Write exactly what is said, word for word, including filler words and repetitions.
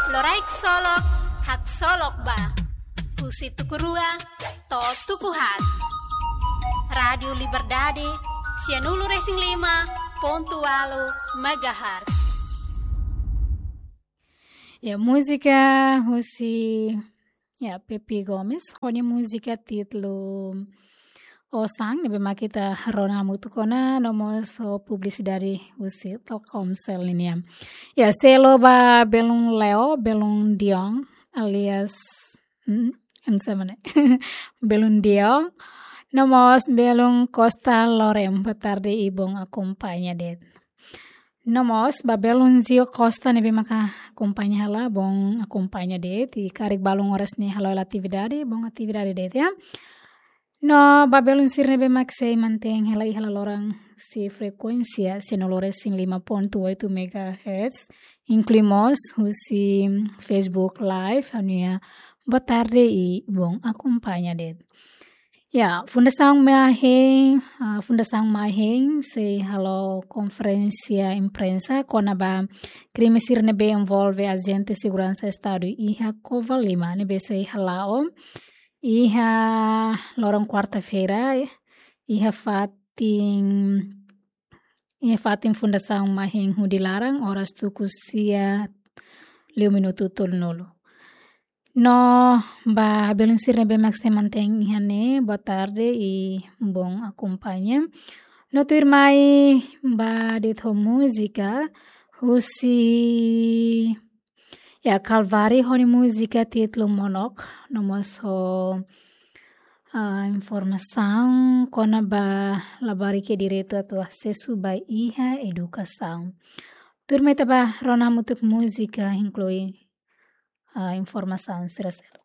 Loraik solok, haksolok ba. Husi tuku rua to'o tuku haat. Rádiu Liberdade, sianulu-resin-lima pontu ualu megahertz. Ya, múzika husi, ya, Pepi Gomes, ho nia múzika títulu Osan, ne'ebé mak ita rona hamutuk ona, no mós ho publisidade husi Telkomsel nian. Ya, selo ba belun Leo, belun Dion, alias, hmm, anu sama ne? Belun Dion, no mós belun Costa Lorem, boa tarde i bom akompaña de'it. No mós ba belun Zio Costa ne'ebé maka akompaña hela, bom akompaña de'it, i karik balun oras ne'e halo hela atividade, bom atividade de'it, ya. No ba belun sira ne'ebé mak sei mantein hela iha hela loron husi frekuénsia sianulu-resin-lima pontu oito megahertz, inklui mós husi Facebook Live, ha'u-nia boa tarde i bom akompaña de'it. Ya, Fundasaun Mahein, ah, Fundasaun Mahein sei halo konferénsia imprensa kona-ba krime sira ne'ebé envolve ajente seguransa Estadu iha Covalima, ne'ebé sei hala'o iha loron kuarta-feira, iha fatin, iha fatin Fundasaun Mahein Hudi Laran, oras tuku sia liu minutu tolunulu. No ba belun sira ne'ebé mak sei mantein iha ne'e, boa tarde i bom akompaña. No tuirmai ba de'it ho múzika husi, ya, Kalvari ho nia múzika títulu Monok, no mós ho, ah, informasaun kona-ba labarik iha direitu atu asesu ba iha edukasaun. Tuirmai ita ba rona hamutuk múzika, inklui, ah, informasaun sira seluk.